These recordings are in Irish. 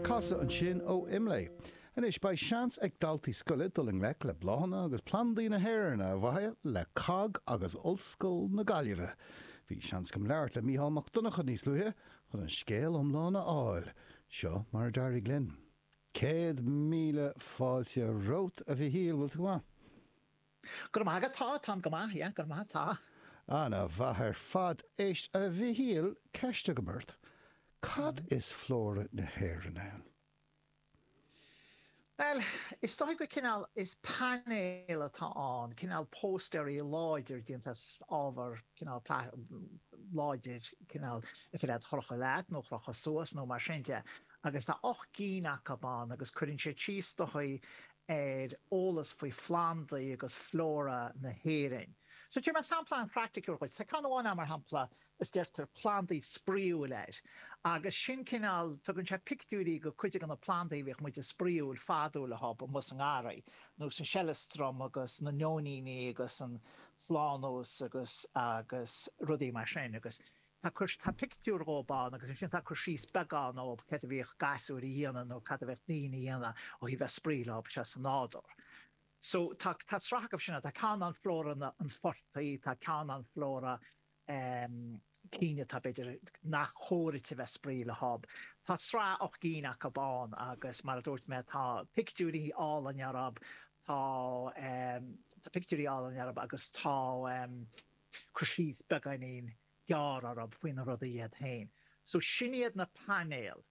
Casadh ansin ó Imlé. Anois beidh seans ag daltaí scoile dul i ngleic le bláthanna agus plandaí na hÉireann ar mhaithe le COGG agus Ollscoil na Gaillimhe. Bhí seans agam labhairt le Mícheál Mac Donncha níos luaithe chun an scéal iomlán a fháil. Seo mar a d'éirigh linn. 100,000 fáilte romhat, a Mhichíl, bhfuil tú go maith? Go raibh maith agat, tá, táim go maith, yeah, go raibh maith, tá. Ana-mhaith ar fad. Éist, a Mhichíl, ceist agam ort. Cad is Flóra na hÉireann ann? Bhuel, is dóigh gur cineál, is painéal atá ann, cineál póstaeirí láidir déanta as ábhar cineál láidir, cineál ar féidir leat a chrochadh leat nó a chrochadh suas nó mar sin de. Agus tá 8 gcinn acu ann agus cuireann siad síos dóigh ar eolas faoi phlandaí agus flora na hÉireann. So tabharfaidh mé sampla an-phraiticiúil dhuit. Tá ceann amháin ann, mar shampla, is deirtear plandaí spraíúil air. Agus sin cineál, tugann sé pictiúirí go cuid de na plandaí a bhíodh muid ag spraoiúil fadó leo amuigh sa ngarraí, nós an seileastram agus na nóiníní agus an slánós agus agus rudaí mar sin. Agus Tá cur, tá pictiúr dhóib ann agus ansin tá cur síos beagán dhóib céard a bhíodh gasúir a dhéanamh nó cad a bheadh daoine a dhéanamh ó thaobh bheith spraoi leo seo sa nádúr. So tá, tá sraith acu sin ann. Tá ceann ann flóra na, an phortaigh, tá ceann ann flóra ehm cinn atá b'fhéidir nach chóir duit a bheith spraoi leob. Tá sraith 8 gcinn acu ann agus mar a dúirt mé tá pictiúirí álainn orthu, tá ehm tá pictiúirí álainn orthu agus tá ehm cur síos beagáinín gearr orthu faoi na rudaí iad féin. So sin iad na painéil.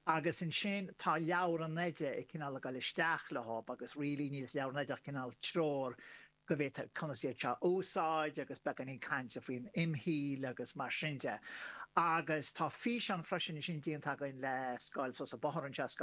Agus ansin tá leabhar an oide ag cineál ag dul isteach leo agus really níl sa leabhar an oide ach cineál treoir go bhféadfá conas iad seo a úsáid agus beagáinín cainte faoin imshaoil agus mar sin de. Agus tá físeán freisin ansin déanta againn le Scoil Seosamh Bóthar anseo.